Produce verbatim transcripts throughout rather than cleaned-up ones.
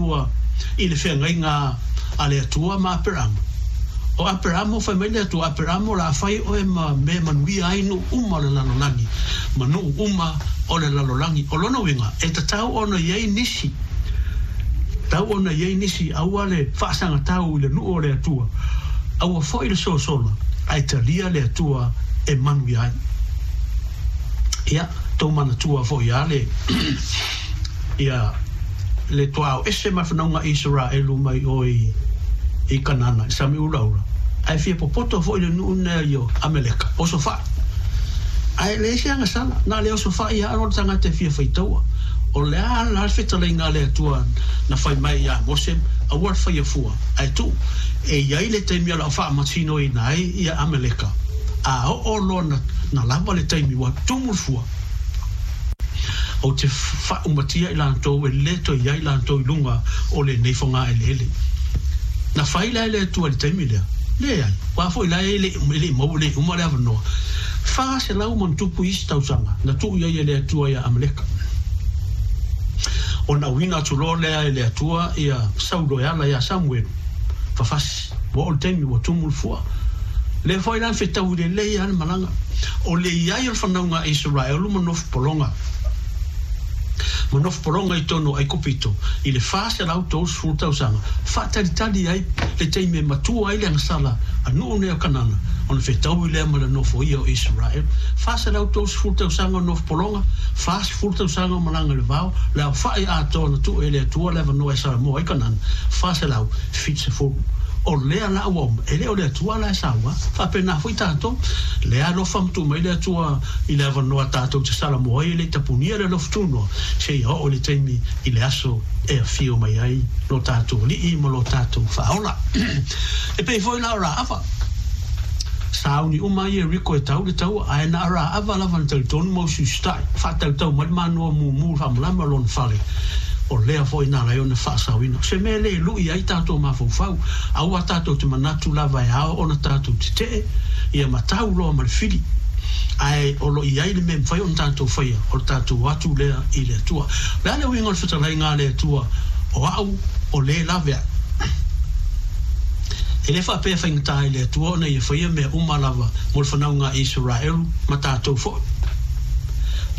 Atua i le feagaiga a le Atua ma Aperamo. O Aperamo, fai mai le Atua, Aperamo, o le a fai oe ma mea e manuia ai nuu uma o le lalolagi, ma nuu uma o le lalolagi. O lona uiga, e tatau ona i ai nisi, tatau ona i ai nisi, aua le faasagatau i le nuu o le Atua, aua foi le sosola, ae talia le Atua e manuia ai. Ia, tou manatua foi ia le ia le tuaao ese ma fanauga Isaraelu mai o i i Kanana i Sami Ulaula. Ae fia popoto foi le nuu nea i o Ameleka, oso fai. Ae leai se agasala, na le oso fai ia alo le tagata e fia faitaua. O le a la le fetalaiga a le Atua na fai mai ia Mose, aua le faia fua, ae tuu. E i ai le taimi o le a faamasinoina ai ia Ameleka. A oo loa na, na lava le taimi ua tumu le fua, ou te faaumatia i latou e lē toe i ai latou i luga o lenei fogaeleele. Na fai la e le Atua i le taimi lea? Leai. Aua foi la e le e le i maua le uma le avanoa. Fa selau ma ona tupu isi tausaga na tuu i ai e le Atua ia Amaleka. Ona auina atu loa lea e le Atua ia Saulo e ala ia Samuelu. Fafasi, ua oo le taimi ua tumu le fua. Lea foi la na fetaui lelei lava le malaga. O le i ai o le fanauga a Isaraelu ma nofo pologa, ma nofo pologa i totonu o Aikupito i le fa selau tolu sefulu tausaga, faatalitali ai le taimi e matua ai le agasala a nuu nei o Kanana, ona fetaui lea ma le nofoia o Isaraelu. Fa selau tolu sefulu tausaga o nofo pologa, fa sefulu tausaga o malaga i le vao, le aofai atoa na tuu e le Atua le avanoa e salamoa ai Kanana, fa selau fitu sefulu. O lea la ua uma, e le o le Atua la e saua. Faapena foi tatou, lea alofa ma tuu mai le Atua i le avanoa tatou te salamoa ai e le i tapunia le alofa tunoa, seia oo i le taimi i le aso e afio mai ai lo tatou Alii ma lo tatou Faaola. E pei foi la o Raava. Sauni uma Ieriko e tau le taua, ae na o Raava lava na talitonu ma usiusitai, faatautau mai le manoa mumu i le faamalama o lona fale. O lea foi na ala ai ona faasaoina. O se mea le lui ai tatou mafaufau, aua tatou te manatu lava e ao ona tatou tetee, ia ma tau loa ma le fili. Ae o lo o i ai le mea e mafai ona tatou faia, o le tatou o atu lea i le Atua. O le a le uiga o le fetalaiga a le Atua, o au o le laveai? E le faapea e faigata i le Atua ona Ia faia mea uma lava mo le fanauga a Isaraelu ma tatou foi.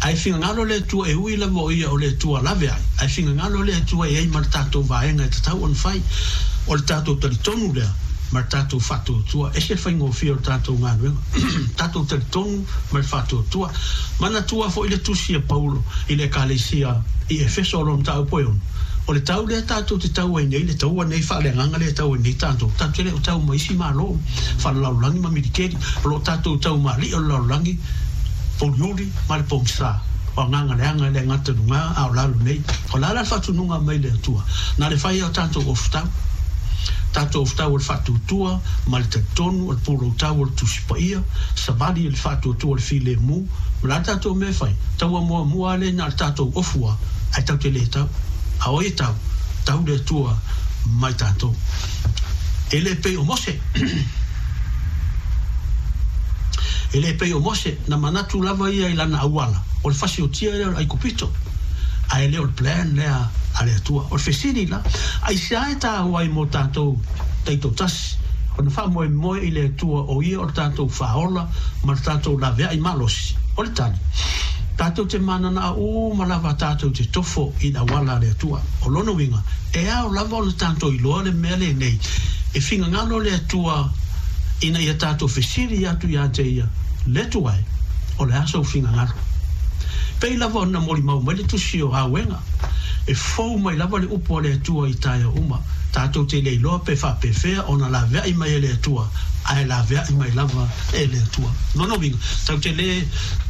Ae fingagalo le Atua e ui lava o Ia o le Atua laveai, ae fingagalo le Atua e i ai ma le tatou vaega e tatau ona fai. O le tatou talitonu lea ma le tatou faatuatua. E ese le faigofie o le tatou galuega. Tatou talitonu ma le faatuatua. Manatua foi le tusi a Paulo i le Ekalesia i Efeso o lona mataupu e ono, O le tau lea tatou te tau ai nei, le taua nei faaleagaga lea e tau ai nei tatou, tatou te le o tau ma isi Malo faalelalolagi ma milikeli, o lo o tatou tau ma alii o le lalolagi, pouliuli ma le pogisa, o agaga leaga e le gata i luga a o lalo nei. O le a la le faatunuga mai le Atua? Na le fai ai o tatou ofutau, tatou ofutau o le faatuatua ma le talitonu, o le poloutau o le Tusi Paia, savali i le faatuatua o le filemu. O le a le tatou mea e fai? Taua muamua lava lea na o le tatou ofu lava, ae tatou te le tau. A o ai e tau? Tau le Atua mai tatou. E le pei o Mose. E le pei o Mose, na manatu lava ia i lana auala, o le fasiotia lea o le Aikupito, ae le o le plan lea a le Atua. O le fesili la, aisea e taua ai mo tatou taitoatasi ona faamoemoe i le Atua o Ia o le tatou Faaola ma le tatou laveai malosi? O le tali, tatou te mananao uma lava tatou te tofo i le auala a le Atua. O lona uiga, e ao lava ona tatou iloa le mea lenei, e fingagalo le Atua ina ia tatou fesili atu ia te Ia, Le Atua e, o le a sou fingagalo? Pei lava ona molimau mai le tusi o Auega, e fou mai lava le upu a le Atua i taeao uma. Tatou te le iloa pe faapefea ona laveai mai e le Atua, ae laveai mai lava e le Atua. Lona uiga, tatou te le,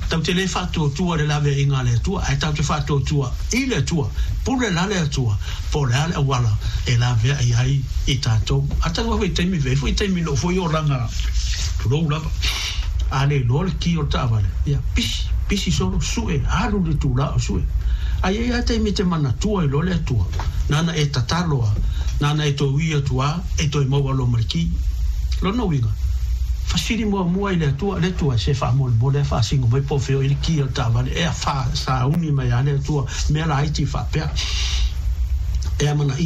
tatou te le faatuatua i le laveaiga a le Atua, ae tatou te faatuatua i le Atua. Pule la le Atua, po o le a le auala e laveai ai i tatou. A talu lava i taimi, e i ai foi taimi na oo foi olaga, tulou lava. A le iloa le ki o le taavale, ia, pisi, pisi solo, sue, alu i le itulā o sue. A i ai lava taimi e te manatua ai loa le Atua, nāna e tatalo a, nāna e toe ui atu a, e toe maua loa ma le ki. Lona uiga, fasili muamua i le Atua, le Atua, se faamolemole a faasino mai po o fea o i ai le ki o le taavale, e a, fa, sauni mai a le Atua, mea laiti faapea. E amanaia.